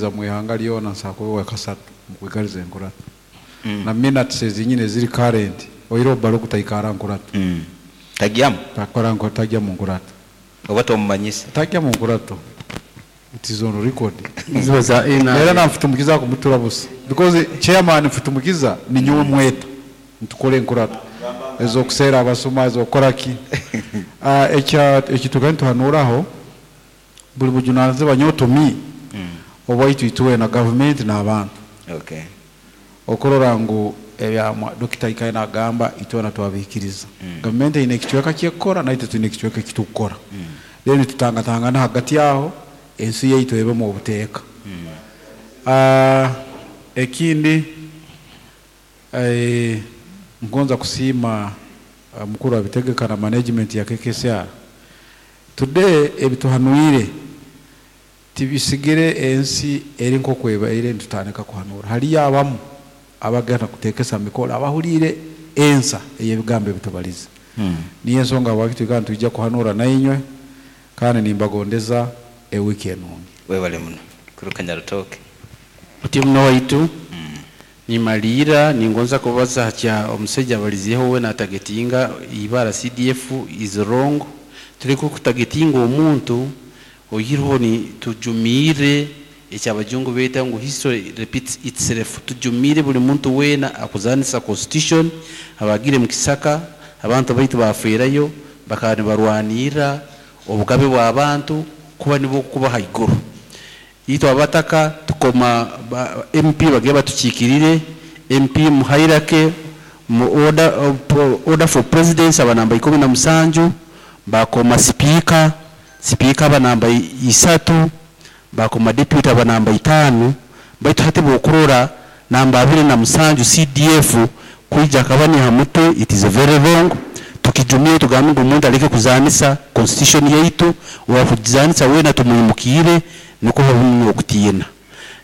Mu ihanga lyona nsakuba wa kasatu mukwikaliza enkurato na minutes ezinyine ziri current oiro baluku taikara nkurato. Tagyamu. Takora nko tajya mu nkurato. Oba tomumanyisa. Tajya mu nkurato, it is on record. Ziba za Era NRM. Na Mfitumukiza kumutura busa because chairman Mfitumukiza ni nyowe mweta ntukore enkurato ezokuseera abasuma ezokukora ki. Ekya ekituga nituhanuraho buli bujunanizibwa nyowe obwaitu itwe na gavumenti n'abantu okurora ngu ebyamwa dokita ikaye nagamba itwena twabikiriza. Gavumenti eine ekicweka kyekukora, naitwe twine ekicweka ekitukukora, then tutangatangana hagati aho ensi yaitu ebemu obuteeka. Ekindi, ngonza kusiima mukuru abitegeka na management ya KKCR today. Ebituhanuire tibisigire ensi eri nk'okwebaire nitutandika kuhanura. Haliyo abamu abagenda kutekesa mikoro abahuliire ensa ey'ebigambo ebitubalize. Niyo ensonga habwaki twikara nitwijja kuhanura nainywe, kandi nimbagondeza ewiki enungi. Webale muno kuruka Nyarutoke. Muti muno waitu, nimaliira ningonza kubaza hakya omusajja abalizeeho we natargetinga ibara CDF is wrong. Tuleke okutargetinga omuntu oyireho. Ni tujumiire ekyabajungu beeta ngu "History repeats itself." Tujumiire buli muntu weena akuzanisa constitution. Abagire mu kisaka, abantu baitu bafeerayo, bakaba nibarwanirra obugabe bw'abantu kuba nibwo kuba haiguru. Itwe abataka tukoma ba MP bagire batukiikirire MP mu hierarchy, mu order, order for presidents aba namba 17, bakoma speaker, speaker aba namba 3, bakoma deputy aba namba 5. Baitu hati bwokurora namba 27 CDF kwija akaba ni ha mutwe, it is very wrong. Tukijumire, tugambe ngu omuntu aleke kuzanisa constitution yaitu. Owakugizanisa weena tumwimukiire, nukwo habumu okutiina.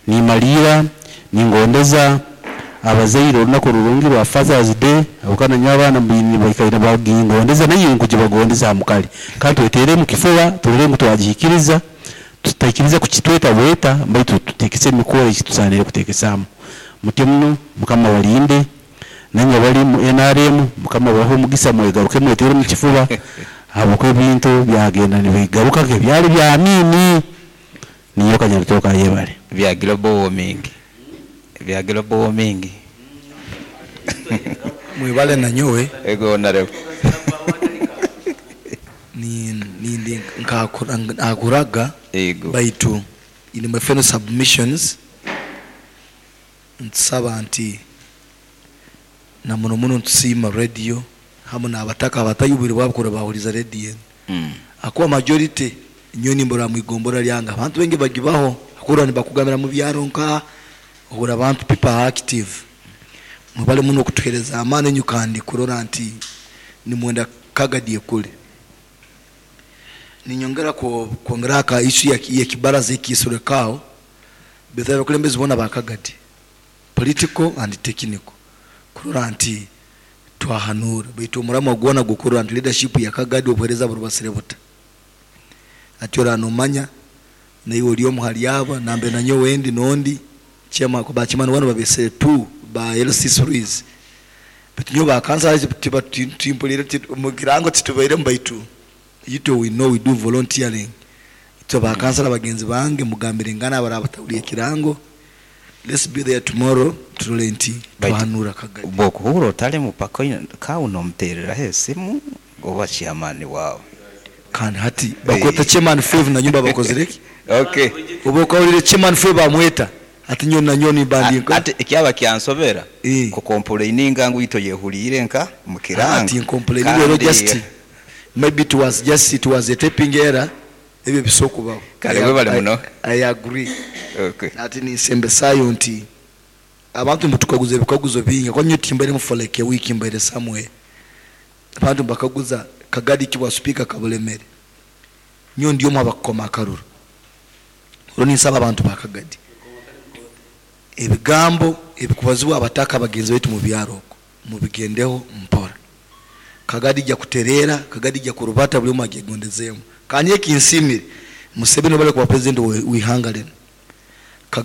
Nimaliira ningondeza abazaire olunaku rurungi rwa Fathers Day, habwokuba nanyowe abaana baikaire bagingondeza, naye nkugibagondeza hamukali. Kandi twetere mu kifuba, turole ngu twagihikiriza, tutaikiriza kukitweta bweta, baitu tutekese emikoro ekitusanire kutekesaamu. Mutyo muno, Mukama balinde. Nanywe bali mu NRM, Mukama bahe omugisa, mwegaruke mwetere mu kifuba, habwokuba ebintu byagenda nibigaruka nkebyali bya Amini. Niyo Kanyarutoka, ayebale. Bya global warming, bya global warming. Mwebale nanyowe. Ego, honorable. Nindi nkakuraga. Ego. Baitu in my final submissions ntusaba nti na muno muno ntusiima radio hamu n'abataka abatayubire bwabukura bahuliza radio enu, akuba majority nyo nimbura mwigombora lyanga abantu bengi bagibaho akura nibakugambira mu byaro nka ohura abantu, people are active. Mwebale muno okutuhereza amaani enyu kandi kurora nti nimwenda Kagadi ekule. Ninyongera kwongera aka issue ya kibaraza ekiisurekaho betha abakulembezi bona ba Kagadi, political and technical, kurora nti twahanura. Baitu omuramu gwona gukurora nti leadership ya Kagadi obuhereza burubasire buta ati ora nomanya naiwe oli omu hali aba nambe nanyowe ndi nondi chama bachimani wano babese 2 ba LC series, but nyo bakansa tiba timpulire mukirango titubaire mbaitu ito we know we do volunteering. Ito bakansala bagenzi bange mugambire ngana abara batawuliye kirango, let's be there tomorrow, turole nti twahanura Kagadi. Bwokuhura otali mupaka kawu nomutereraho esimu oba chairman wawe. Kandi hati bakweta chairman 5 na nyumba bakozereki. Oba okawulire chairman 5 bamweta ati nyo na nyo ni bandi. Ate ekyaba kyansobera kucomplaininga ngu ito yehuliire nka mukiranga. Ati complaining ero just maybe it was a typing error, ebyo bisokubaho. Kale, webale muno. I agree. Ati ninsembesayo nti abantu mbutukaguza ebikaguzo bingi kwa nyo timbaire for like a week, mbaire somewhere, abantu mbakaguza Kagadi kibwa speaker kabulemere nyo ndi omu abakukoma akaruru. Olwo ninsaba abantu ba Kagadi, ebigambo ebikubazibwa abataka bagenzi baitu mu byaro okwo mubigendeho mpora. Kagadi ijja kutereera, Kagadi ijja kurubata, buli omu agyegondezeemu. Kandi ekinsiimire Museveni bali kuba president w'ihanga lino.